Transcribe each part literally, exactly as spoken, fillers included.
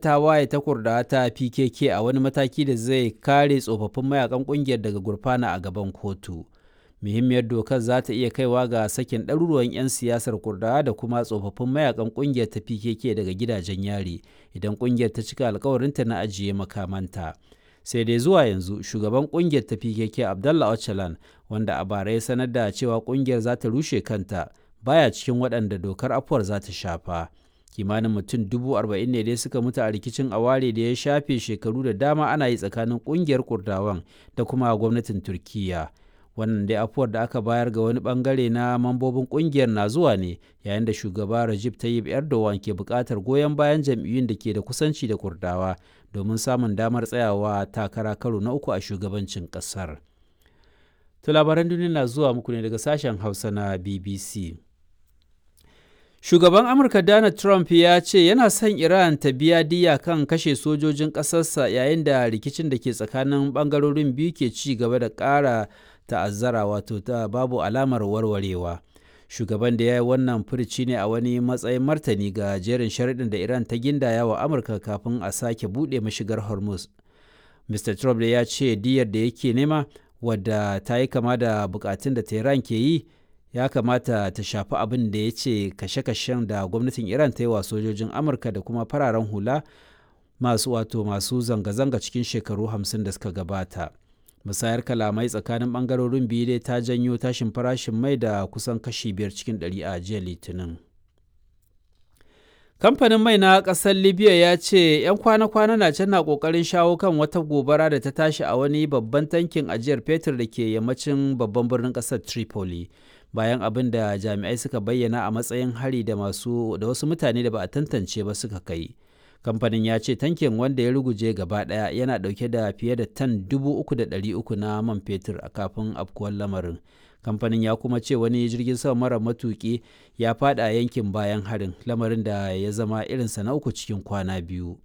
Tawaye ta Kurdawa ta P K K a wani mataki da zai kare tsofaffin mayakan ƙungiyar daga gurfana a gaban kotu. Muhimmiyar dokar za ta iya kaiwa ga sakin ɗaruruwan 'yan siyasar Kurdawa da kuma tsofaffin mayakan ƙungiyar ta P K K daga gidajen yari idan ƙungiyar ta cika alkawarinta na ajiye makamanta. Sai dai zuwa yanzu shugaban ƙungiyar ta P K K, Abdullah Öcalan, wanda a bara ya sanar da cewa ƙungiyar za ta rushe kanta, baya cikin waɗanda dokar afuwar za ta shafa. Kimanin mutum dubu arba'in ne dai suka mutu a rikicin aware da ya shafe shekaru da dama ana yi tsakanin ƙungiyar Kurdawan da kuma gwamnatin Turkiyya. Wannan dai afuwar da aka bayar ga wani bangare na mambobin kungiyar na zuwa ne yayin da shugaba Recep Tayyip Erdogan ke buƙatar goyon bayan jam'iyyun da ke da kusanci da Kurdawa domin samun damar tsayawa takara karo na uku a shugabancin ƙasar. To, labaran duniya na zuwa muku ne daga sashen Hausa na B B C. Shugaban Amurka Donald Trump ya ce yana son Iran ta biya diyya kan kashe sojojin ƙasarsa yayin da rikicin da ke tsakanin ɓangarorin biyu ke ci gaba da ƙara ta'azzara, wato ta babu alamar warwarewa. Shugaban da ya yi wannan furici ne a wani matsayin martani ga jerin sharaɗin da Iran ta gindaya wa Amurka kafin a sake buɗe mashigar Hormuz. Mister Trump da ya ce diyyar da yake nema, wadda ta yi kama da bukatun da Tehran ke yi, ya kamata ta shafi abin da ya ce kashe-kashen da gwamnatin Iran ta yi wa sojojin Amurka da kuma fararen hula masu wato masu zanga-zanga cikin shekaru hamsin da suka gabata. Musayar kalamai tsakanin bangarorin biyu dai ta janyo tashin farashin mai da kusan kashi biyar cikin ɗari a jiya Litinin. Kamfanin mai na ƙasar Libya ya ce 'yan kwana-kwana na can na ƙoƙarin shawo kan wata gobara da ta tashi a wani babban tankin ajiyar fetur da ke yammacin babban birnin ƙasar Tripoli, bayan abin da jami'ai suka bayyana a matsayin hari da masu da wasu mutane da ba a tantance ba suka kai. Kamfanin ya ce tankin, wanda ya ruguje gaba daya, yana dauke da fiye da tan dubu uku da ɗari uku na man fetur a kafin afkuwar lamarin. Kamfanin ya kuma ce wani jirgin sama mara matuki ya fada yankin bayan harin, lamarin da ya zama irinsa na uku cikin kwana biyu.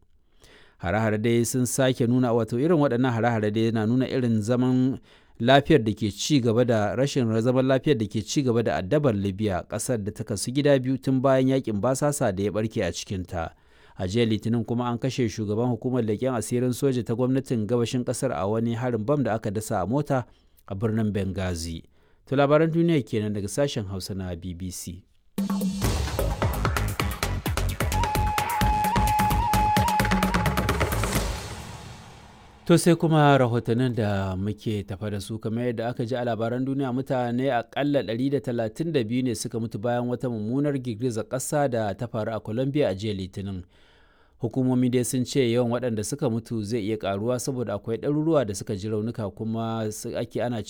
Hare-hare dai sun sake nuna, wato irin waɗannan hare-hare dai na nuna irin zaman lafiyar da ke ci gaba da rashin zaman lafiyar da ke ci gaba da addabar Libya, ƙasar da ta kasu gida biyu tun bayan yakin basasa da ya barke a cikinta. A jiya Litinin kuma an kashe shugaban hukumar leƙen asirin soja ta gwamnatin gabashin ƙasar a wani harin bam da aka dasa a mota a birnin Benghazi. To, labaran duniya kenan daga sashen Hausa na B B C. To, sai kuma rahotannin da muke tafa da su. Kamar yadda aka ji a labaran duniya, mutane akalla ɗari da talatin da biyu ne suka mutu bayan wata mummunar girgizar ƙasa da ta faru a Colombia a jiya Litinin. Hukumomi dai sun ce yawan waɗanda suka mutu zai iya ƙaruwa saboda akwai ɗaruruwa da suka ji raunuka kuma ake ana